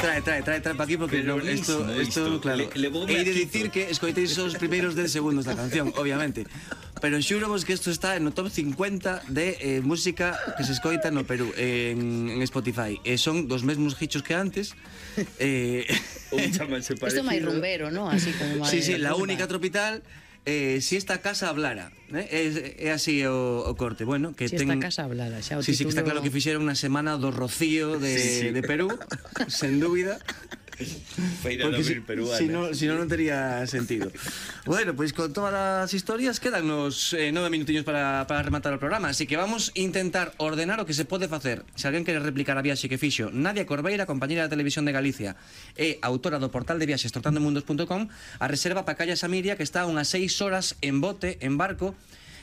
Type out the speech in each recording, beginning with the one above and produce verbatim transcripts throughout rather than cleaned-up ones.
Trae, trae, trae, trae pa aquí porque Pero isto, listo, isto, isto. claro. Le- levoume Hei de aquí dicir todo. que escoiteis os primeiros dez segundos da canción, obviamente. Pero xuramos que isto está no top cincuenta de eh, música que se escoita no Perú en, en Spotify. E son dos mesmos hichos que antes. Eh, Un chamanse Isto parecido. é máis rumbero, ¿no? Así como máis... sí, sí, la rumba. única tropical. Eh, si esta casa hablara, eh? é, é así o, o corte. Bueno, que Si ten... esta casa hablara, xa o Sí, sí, que está título- claro que fixeron unha semana do rocío de, Sí, sí. de Perú, sen dúbida. Feira de Porque si, abril peruana. si, no, si no, non tería sentido. Bueno, pois pues con todas as historias quedan nos eh, nove minutiños para, para rematar o programa. Así que vamos a intentar ordenar o que se pode facer. Se alguén quere replicar a viaxe que fixo Nadia Corbeira, compañera da Televisión de Galicia e autora do portal de viaxes trotandomundos punto com, a reserva pa Calla Samiria, que está unhas seis horas en bote, en barco,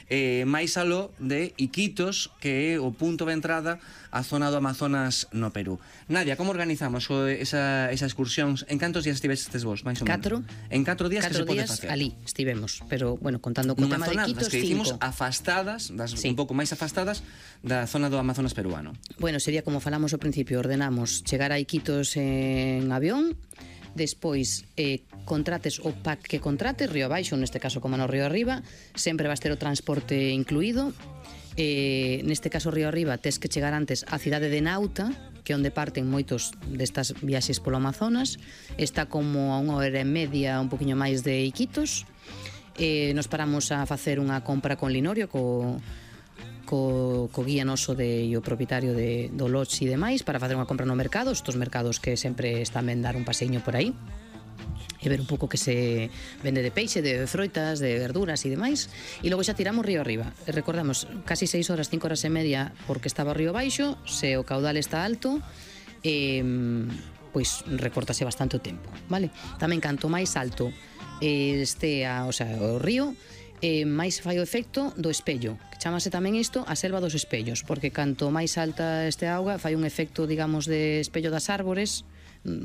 eh, máis aló de Iquitos, que é o punto de entrada á zona do Amazonas no Perú. Nadia, como organizamos o, esa, esa excursión? En cantos días estivestes vos, máis ou menos? Catro. En catro días Catro que se pode días facer? ali estivemos, pero, bueno, contando con o Nunha tema de zona Iquitos, das que dicimos cinco. afastadas, das, Sí. un pouco máis afastadas da zona do Amazonas peruano. Bueno, sería como falamos ao principio, ordenamos chegar a Iquitos en avión, despois eh, contrates o pack que contrates, río abaixo, neste caso como no río arriba, sempre vas ter o transporte incluído. Eh, neste caso río arriba tes que chegar antes á cidade de Nauta, que é onde parten moitos destas viaxes polo Amazonas. Está como a unha hora e media, un poquinho máis de Iquitos. Eh, nos paramos a facer unha compra con Linorio, co co, co guía noso de, e o propietario de, do lodge e demais, para facer unha compra no mercado, estos mercados que sempre están ben dar un paseiño por aí e ver un pouco que se vende de peixe, de froitas, de verduras e demais, e logo xa tiramos río arriba. E recordamos, casi seis horas, cinco horas e media porque estaba o río baixo, se o caudal está alto, eh, pois recortase bastante o tempo, vale? Tamén canto máis alto eh, este a, o sea, o río, eh, máis fai o efecto do espello, que chamase tamén isto a selva dos espellos, porque canto máis alta este auga fai un efecto, digamos, de espello das árbores,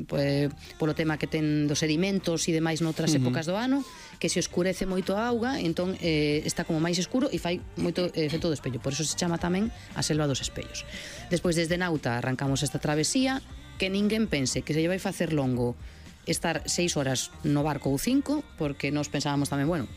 pues, polo tema que ten dos sedimentos e demais noutras uh -huh. épocas do ano, que se oscurece moito a auga, entón eh, está como máis escuro e fai moito efecto do espello, por eso se chama tamén a selva dos espellos. Despois desde Nauta arrancamos esta travesía, que ninguén pense que se lle vai facer longo estar seis horas no barco ou cinco, porque nos pensábamos tamén, bueno,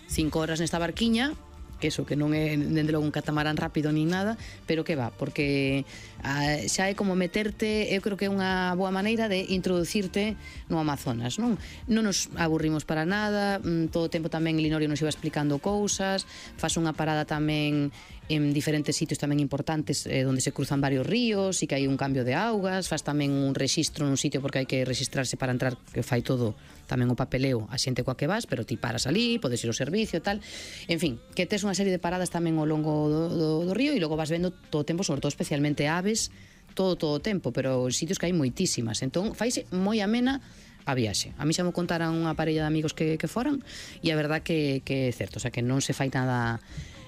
cinco horas nesta barquiña, que eso, que non é dende logo un catamarán rápido nin nada, pero que va, porque a, xa é como meterte, eu creo que é unha boa maneira de introducirte no Amazonas, non? Non nos aburrimos para nada, todo o tempo tamén Linorio nos iba explicando cousas, faz unha parada tamén en diferentes sitios tamén importantes eh, onde se cruzan varios ríos e que hai un cambio de augas, faz tamén un rexistro nun sitio porque hai que registrarse para entrar, que fai todo tamén o papeleo a xente coa que vas, pero ti paras ali, podes ir ao servicio e tal, en fin, que tes unha serie de paradas tamén ao longo do, do, do río e logo vas vendo todo o tempo, sobre todo especialmente aves, todo todo o tempo, pero sitios que hai moitísimas, entón faise moi amena a viaxe. A mí xa me contaran unha parella de amigos que, que foran e a verdad que, que é certo, o sea que non se fai nada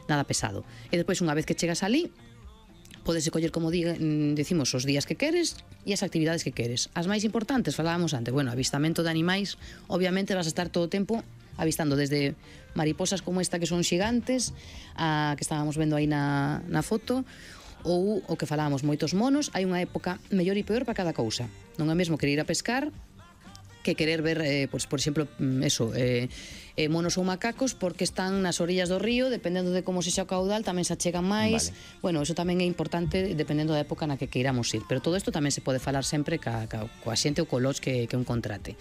nada pesado. E despois, unha vez que chegas ali, podes coller, como diga, decimos, os días que queres e as actividades que queres. As máis importantes, falábamos antes, bueno, avistamento de animais, obviamente vas a estar todo o tempo avistando desde mariposas como esta que son xigantes, a que estábamos vendo aí na, na foto, ou o que falábamos, moitos monos. Hai unha época mellor e peor para cada cousa. Non é mesmo querer ir a pescar que querer ver, eh, pues, por exemplo, eso, eh, eh, monos ou macacos, porque están nas orillas do río, dependendo de como sexa o caudal, tamén se achegan máis. Vale. Bueno, eso tamén é importante dependendo da época na que queiramos ir, pero todo isto tamén se pode falar sempre ca, ca, coa xente ou co lodge que, que un contrate.